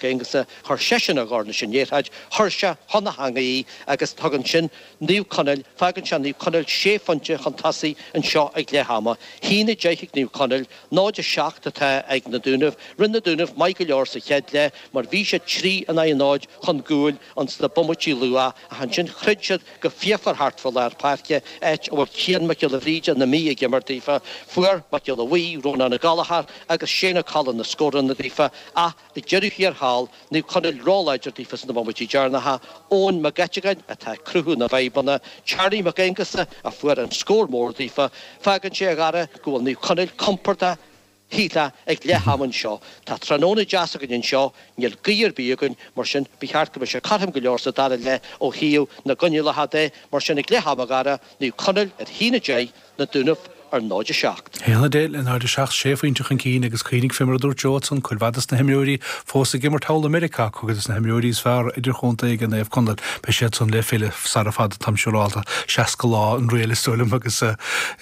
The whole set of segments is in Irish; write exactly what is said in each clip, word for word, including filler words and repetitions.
Aonghusa, chuir seisean a dhorn leis an liathróid, chuir sé chun na heangaí í agus tugann sin Naomh Conaill, fágann sé Naomh Conaill sé phointe chun tosaigh anseo ag leath ama. Haon a deich ag Naomh Conaill, náid a seacht atá ag na Dúnaibh. Rinne na Dúnaibh maith go leor sa chéad leath mar bhí siad trí in aghaidh a náid chun gcúil ins na bomaití luath ach ansin throid siad go fíochmhar thart fá lár páirce, áit a bhfuil Cian Mac Giolla Bhríde na Mí ag imirt daofa. Fuair Mac Giolla Bhuí, Rónán Ó Gallchóir agus Shane Ó Coileáin na scóranna daofa ach ag deireadh thiar thall, Naomh Conaill róláidir daofa sna bomaití deireanacha. Eoin Mac Eiteagáin atá ag cruthú na bhfadhbanna. Charlie Mac Aonghusa a fuair an scór mór daofa. Fágann sé, a Dhara, go bhfuil Naomh Conaill compordach shílfeá ag leath am anseo. Tá tráthnóna deas againn anseo, níl gaoth ar bith againn, mar sin ba cheart go mbeadh sé cothrom go leor sa dara leath ó thaobh na gcoinníollacha de. Mar sin ag leath am, a Dhara, Naomh Conaill ar haon a deich, Na Dúnaibh ar náid a seacht. Haon a deich le náid a seacht, sé phointe chun cinn agus cuimhnigh fé mar a dúirt Joe ansan, cuid mhaith des na himreoirí fós ag imirt thall i Meiriceá, cuid des na himreoirí is fearr idirchontae ag Naomh Conaill, beidh siad san le filleadh sara fada, táim siúrálta, seasca lá an riail is dóigh liom agus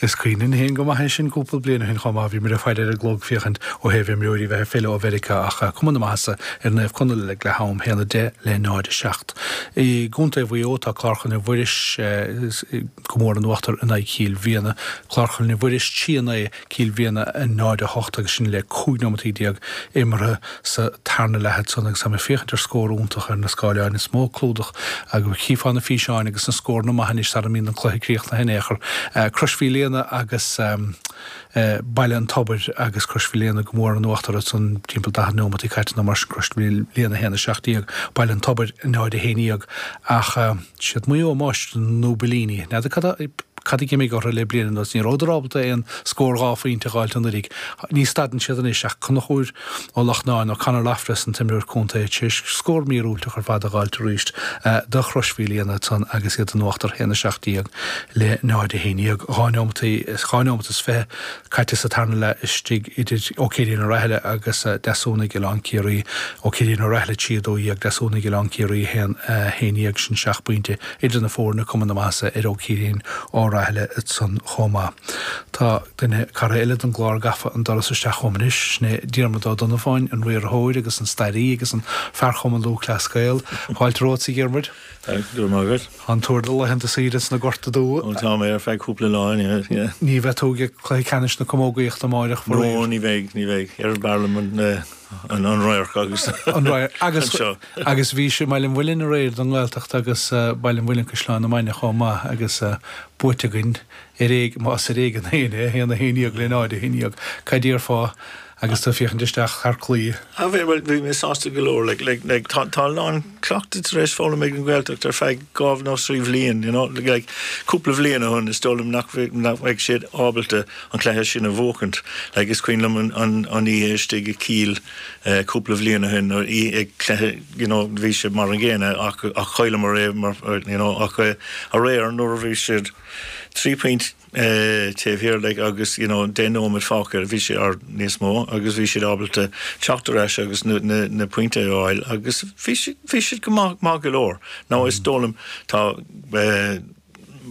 is cuimhin linn féin go maith é sin cúpla bliain ó shin chomh maith, bhíomar ag faire ar an gclog féachaint ó thaobh imreoirí bheith ag filleadh ó Mheiriceá ach cuma na maitheasa ar Naomh Conaill ag leath am, haon a deich le náid a seacht. I gContae Mhaigh Eo tá Clár Choinnle Mhuiris go mór in uachtar in aghaidh Chill Mhiadhna. Clár Choinnle Mhuiris trí a naoi, Cill Mhiadhna a náid a hocht agus sin le cúig nóimeataí déag imeartha sa tarna leath ansan agus táim ag féachaint ar scór iontach ar na scáileáin. Is mó clúdach agus chífeá na físeáin agus na scóranna maithe anois sara mbíonn an cluiche críochnaithe in aon chor. Crois Mhíl Éanna agus Baile an Tobair agus Crois Mhíl Éanna go mór in uachtar ansan timpeall daichead nóimeataí caite nó mar sin, Crois Mhíl Éanna a haon a seacht déag, Baile an Tobair náid a haon dhéag ach siad Maigh Eo máistrí na ndúbailíní. N'fheadar cad a cad a d'imigh orthu le bliain anuas. Ní rabhadar ábalta aon scór dhá phointe a dh'fháilt anuraidh. Ní stadann siad anois ach Conchúr Ó Lachtnáin, nó Conor Loftus an t-imreoir contae, tar éis scór míorúilteach ar fad a dh'fháilt arís do Chrois Mhíl Éanna ansan agus iad in uachtar a haon a seacht déag le náid a haon dhéag. Dhá neomat dhá neomat is fiche caite sa tarna leath istigh idir Ó Céirín Ó Raithile agus Deasúnaigh Oileán Ciarraí. Ó Céirín Ó Raithile trí a dó dhéag, Deasúnaigh Oileán Ciarraí a haon a haon dhéag, sin seacht bpointe idir na foirne, cuma na maitheasa ar Ó Céirín Ó Raithile ansan chomh maith. Tá duine, cara eile don gclár gafa an doras isteach chugam anois, sin é Diarmuid Ó Donnabháin, an riarthóir agus an stairí agus an fear Chumann Lúthchleas Gael. Fáilte romhat, a Dhiarmuid. Go raibh maith agat. Tá an tuar do laethanta saoire sna Gorta Dubha. Ó tá mé ar feadh cúpla lá, yeah, yeah. Ní bheidh tú ag cluiche ceannais na camógaíochta amáireach, faraor. No, ní bheidh, ní bheidh. Ar b'fhearr liom an, an, an radharc agus An radharc. Agus, anseo. agus bhí sé i mBaile an Mhuilinn aréir don nGaeltacht agus Baile an Mhuilinn Caisleán na Mainge chomh maith agus buaite againn ar éig, más ar éigean féin é, a haon a haon dhéag le náid a haon dhéag. Cad déarfá agus tú ag féachaint isteach thar claí? Ah, bhí, bhuel, bhí mé sásta go leor, like, like, like, tá, tá a lán cleachtadh tar éis foghlaim ag an Ghaeltacht ar feadh dhá nó trí bhliain, you know, like, cúpla bhliain ó shin, is dóigh liom nach bhí, nach mbeadh siad ábalta an cluiche sin a bhuachaint. Like, is cuimhin liom an, an, an oíche istigh i Cill, eh, cúpla bhliain ó shin, nuair í ag cluiche, you know, bhí sé mar an gcéanna ach, ach chailleamar é mar, you know, ach, eh, aréir nuair a bhí siad trí phointe, eh, taobh thiar like agus you know deich nóiméad fágtha bhí sé ar níos mó agus bhí siad ábalta teacht ar ais agus na, na, na pointe a fháil agus bhí siad, bhí siad go maith, maith go leor. Now is dóigh liom tá eh,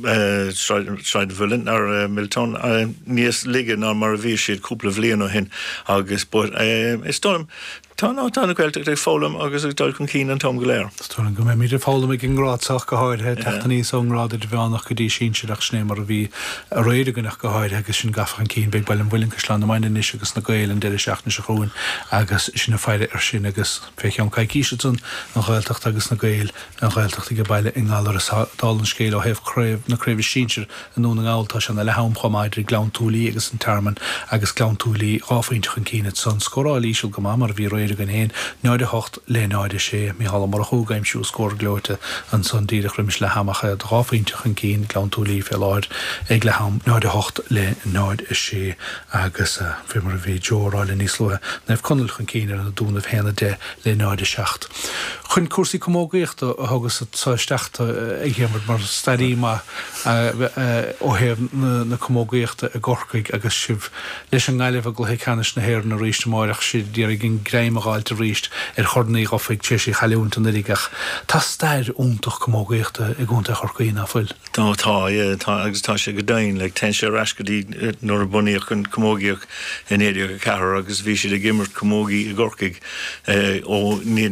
eh, Sráid Sráid an Mhuilinn ar eh, Milltown eh, níos laige ná mar a bhí siad cúpla bhliain ó shin agus but eh, is dóigh liom tá ná tá na Gaeltacht ag foghlaim agus ag dul chun cinn an t-am go léir. Is dóigh liom go mbeimid ag foghlaim ag an ngrád seo go háirithe, teacht aníos ón ngrád idirmheánach go dtí sinsearach, sin é mar a bhí aréir againn ach go háirithe agus sin gafa chun cinn. Beidh Baile an Mhuilinn, Caisleán na Mainge anois agus na Gaeil an deireadh seachtaine seo chugainn agus sin ag faire air sin agus fé cheann coicíse ansan an Ghaeltacht agus na Gaeil, an Ghaeltacht ag baile i nGallaras. Dála an scéil ó thaobh craobh na craoibhe sinsir i nDún na nGall tá sé ina leath am chomh maith idir Gleann tSúilí agus an Tearmann agus Gleann tSúilí dhá phointe chun cinn ansan. Scóráil íseal go maith mar a bhí aréir againn féin, náid a hocht le náid a sé. Mícheál Ó Murchú ag aimsiú scór gleoite ansan díreach roimis leath am ach dhá phointe chun cinn Gleann tSúilí fé láthair ag leath am, náid a hocht le náid a sé agus fé mar a bhí Joe á rá linn níos luaithe, Naomh Conaill chun cinn ar na Dúnaibh haon a deich le náid a seacht. Chun cúrsaí camógaíochta a thugas sa isteach a Dhiarmuid mar stairí maith ó thaobh na camógaíochta i gCorcaigh agus sibh leis an nGaillimh i gcluiche ceannais na hÉireann arís amárach sibh d'iarraidh an greim a dh'fháilt arís ar Chorn Uí Dhufaigh tar éis í chailliúint anuraidh ach tá stair iontach camógaíochta i gContae Chorcaí ná fuil? Tá tá tá agus tá sé go deimhin le téann sé ar ais go dtí nuair a bunaíodh an camógaíocht i naoi déag a ceathair agus bhí siad ag imirt camógaí i gCorcaigh ó naoi